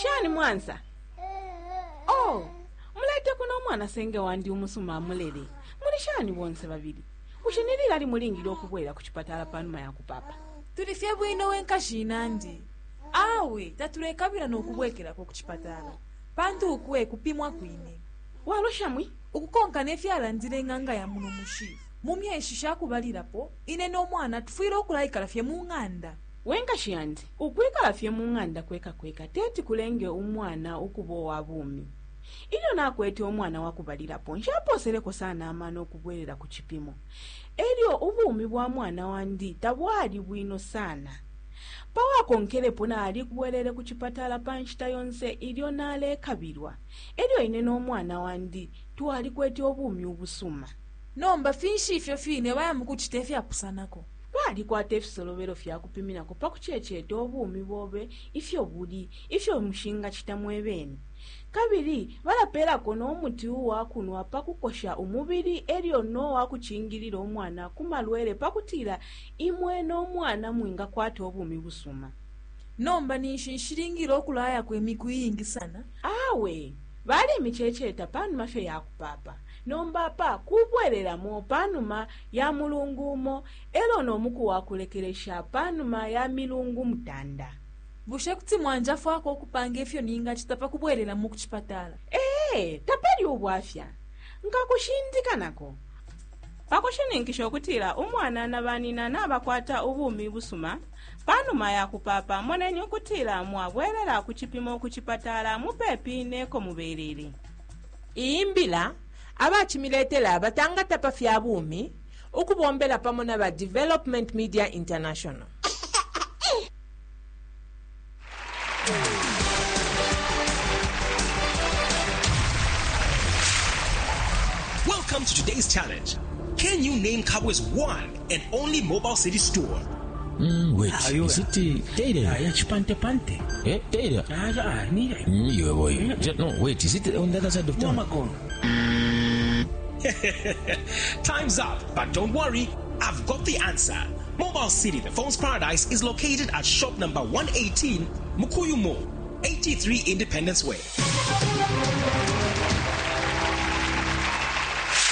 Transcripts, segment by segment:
Shani mwansa? Oh, mulete kuno umwana senge wandi umusuma amulele. Muli shani bonse babili? Bushe ni lilali mulingile ukubwela ku chipatala pa numa ya kupapa? Tuli fye bwino we nkashi inandi. Awe tatulekabila no kubwekelako ku chipatala, pantu uku e kupimwa kwine. Walosha mwi? Ukukonka ne fyalandile ing'anga ya muno mushi, mu myeshi sha kubalilapo, ine no mwana tufwile ukulaikala fye mu ng'anda. We nkashi yandi, ukwikala fye mu ng'anda kweka kweka teti kulenge umwana ukuba uwa bumi. Ilyo nakwete umwana wa kubalilapo, nshapooseleko sana amano ukubwelela ku cipimo. E lyo ubumi bwa mwana wandi tabwali bwino sana. Pa wakonkelepo nalibwelele ku cipatala pa nshita yonse ilyo nalekabilwa. E lyo ine no mwana wandi twalikwete ubumi ubusuma. Nomba finshi ifyo fine baya mu kucita ifyapusanako? Balikwata ifisolobelo fya kupiminako pa kuceeceeta ubumi bobe ifyo buli, ifyo mushingacita mwe bene. Kabili balapeelako no muti uwa kunwa pa kukosha umubili e lyo no wa kucingilila umwana ku malwele pa kutila imwe no mwana mwingakwata ubumi busuma. Nomba ninshi nshilingile ukulayako imiku iingi sana? Awe, balemiceeceeta pa numa fye ya kupaapa. Nomba apa kubwelelamo pa numa ya mulungu umo e lyo no muku wa kulekelesha pa numa ya milungu mutanda. Bushe kuti mwanjafwako ukupanga ifyo ningacita pa kubwelelamo ku cipatala? Ee, tapali ubwafya. Nkakushindika nako. Pa kushininkisha ukutila umwana na banina nabakwata ubumi busuma pa numa ya kupaapa, moneni ukutila mwabwelela ku cipimo ku cipatala mupepi ne ko mubelele. Iyi mbila abacimiletela batangata pa fya bumi ukubombela pamo na ba Development Media International. Welcome to today's challenge. Can you name Kabwe's one and only mobile city store? Wait, Ayo. is it Taylor? Ah, ya chipante pante. Eh, Taylor? Ah, ah, ni You boy. No, wait, is it on the other side of town? Magono. Time's up, but don't worry, I've got the answer. Mobile City, the phone's paradise, is located at shop number 118, Mukuyu Mall, 83 Independence Way.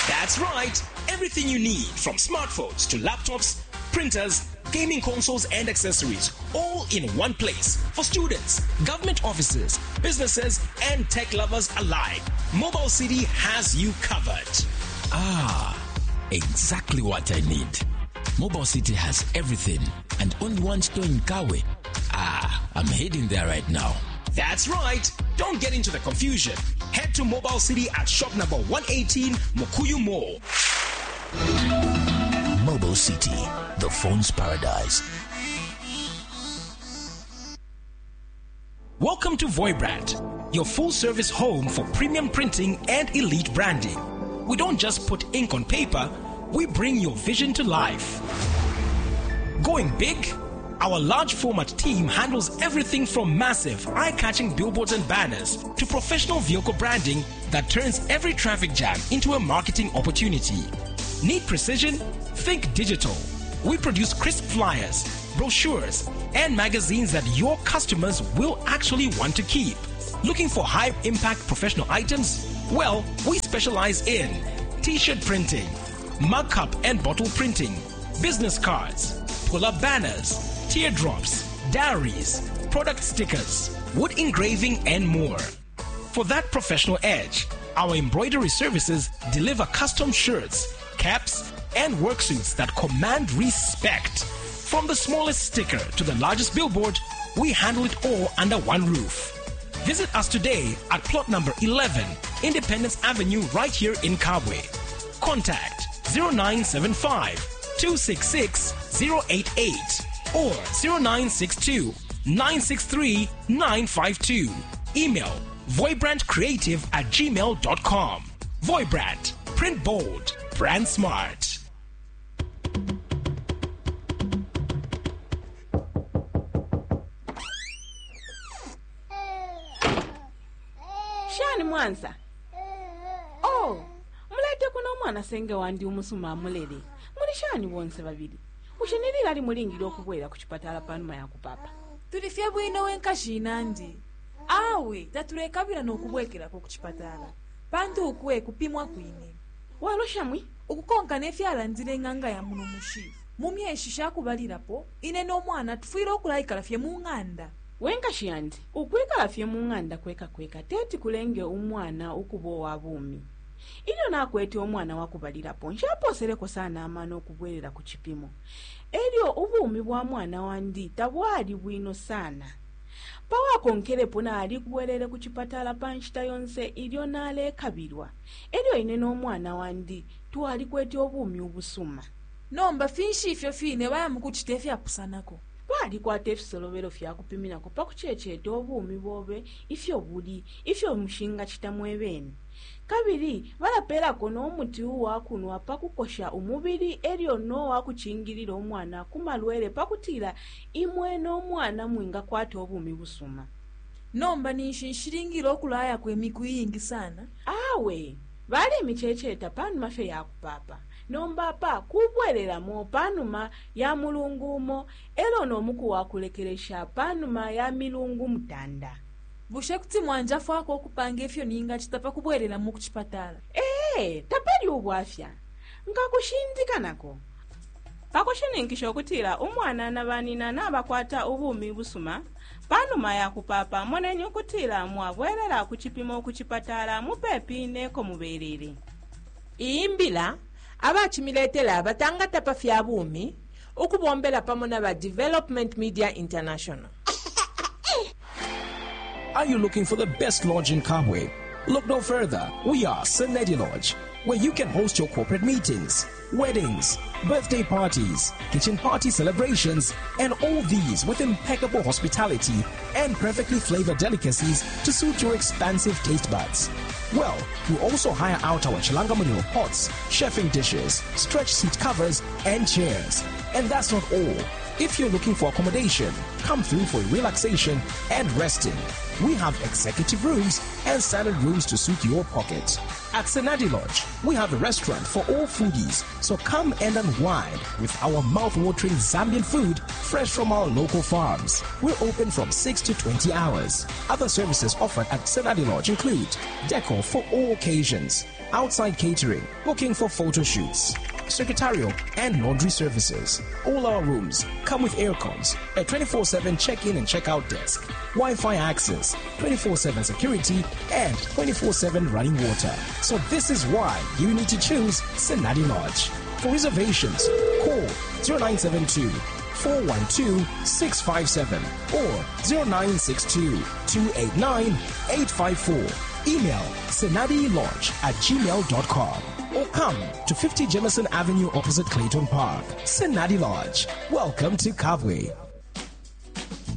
That's right, everything you need from smartphones to laptops, printers, gaming consoles, and accessories, all in one place for students, government offices, businesses, and tech lovers alike. Mobile City has you covered. Ah, exactly what I need. Mobile City has everything and only one store in Kabwe. Ah, I'm heading there right now. That's right. Don't get into the confusion. Head to Mobile City at shop number 118 Mukuyu Mall. Mobile City, the phone's paradise. Welcome to Voibrand, your full service home for premium printing and elite branding. We don't just put ink on paper, we bring your vision to life. Going big? Our large format team handles everything from massive, eye catching billboards and banners to professional vehicle branding that turns every traffic jam into a marketing opportunity. Need precision? Think digital. We produce crisp flyers, brochures, and magazines that your customers will actually want to keep. Looking for high impact professional items? Well, we specialize in t shirt printing, mug cup and bottle printing, business cards, pull up banners, teardrops, diaries, product stickers, wood engraving, and more. For that professional edge, our embroidery services deliver custom shirts, caps, and work suits that command respect. From the smallest sticker to the largest billboard, we handle it all under one roof. Visit us today at plot number 11, Independence Avenue, right here in Kabwe. Contact 0975 266 088 or 0962 963 952. Email voibrandcreative at gmail.com. Voibrand, print bold, brand smart. Shani mwansa? Oh, mulete kuno umwana senge wandi umusuma amulele. Muli shani bonse babili? Bushe ni lilali mulingile ukubwela ku chipatala pa numa ya kupapa? Tuli fye bwino we nkashi inandi. Awe tatulekabila no kubwekelako ku chipatala pantu ukwe kupimwa kwine. Walosha mwi? Ukukonka nefyalandile ing'anga ya muno mushi, mu myeshi shakubalilapo ine no mwana tufwile ukulaikala fye mu ng'anda. Wenkashi yandi, ukwikala fye mu ng'anda kweka kweka teti kulenge umwana ukuba uwa bumi. Ilyo nakwete umwana wa kubalilapo, nshaposeleko sana amano ukubwelela ku cipimo. Elyo ubumi bwa mwana wandi tabwali bwino sana. Pawakonkelepo nalikubwelele ku chipatala pa nshita yonse ilyo nalekabilwa. Elyo ine no mwana wandi twalikwete ubumi ubusuma. Nomba finshi ifyo fine baya mukucita ifyapusanako? Balikwata ifisolobelo fya kupiminako pa kuceceta ubumi bobe ifyo buli, ifyo mushingacita mwebene. Kabili balapeelako no muti uwa kunwa pa kukosha umubili elyo no wa kucingilila umwana ku malwele pa kutila imwe no mwana mwingakwata ubumi busuma. Nomba ninshi nshilingile ukulayako imiku iingi sana? Awe, balimiceceta panuma fye ya kupapa. Nomba pa kubwelelamo panuma ya mulungu umo elo no muku wa kulekelesha panuma ya milungu mutanda. Bushe kuti mwanjafwako ukupanga ifyo ningacita pa kubwelelamo ku chipatala? Ee, tapali ubwafya. Nkakushindika nako. Pakushininkisha ukutila umwana na banina nabakwata ubumi busuma, panuma ya kupapa moneni ukutila mwabwelela ku cipimo ku chipatala mupepi neko mubelele. Iyi mbila abacimiletela batangata pa fya bumi ukubombela pamo na ba Development Media International. Are you looking for the best lodge in Kabwe? Look no further. We are Senedi Lodge, where you can host your corporate meetings, weddings, birthday parties, kitchen party celebrations, and all these with impeccable hospitality and perfectly flavored delicacies to suit your expansive taste buds. Well, we also hire out our Chilangamunil pots, chefing dishes, stretch seat covers, and chairs. And that's not all. If you're looking for accommodation, come through for relaxation and resting. We have executive rooms and standard rooms to suit your pocket. At Senadi Lodge, we have a restaurant for all foodies, so come and unwind with our mouth-watering Zambian food fresh from our local farms. We're open from 6 to 20 hours. Other services offered at Senadi Lodge include decor for all occasions, outside catering, booking for photo shoots, secretarial and laundry services. All our rooms come with aircons, a 24/7 check-in and check-out desk, Wi-Fi access, 24/7 security, and 24/7 running water. So this is why you need to choose Senadi Lodge. For reservations, call 0972 412 657 or 0962 289 854. Email senadilodge@gmail.com or come to 50 Jemison Avenue opposite Clayton Park. Senadi Lodge. Welcome to Kabwe.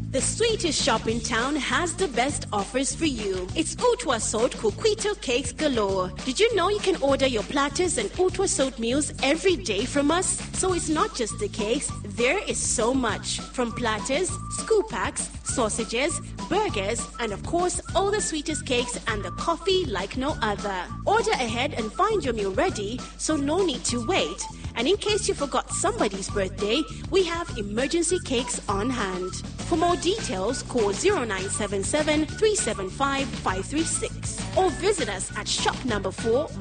The sweetest shop in town has the best offers for you. It's Utwa Salt Kukwito Cakes Galore. Did you know you can order your platters and Utwa Salt meals every day from us? So it's not just the cakes, there is so much. From platters, scoop packs, sausages, burgers, and of course, all the sweetest cakes and the coffee like no other. Order ahead and find your meal ready, so no need to wait. And in case you forgot somebody's birthday, we have emergency cakes on hand. For more details, call 0977 375 536 or visit us at shop number 4.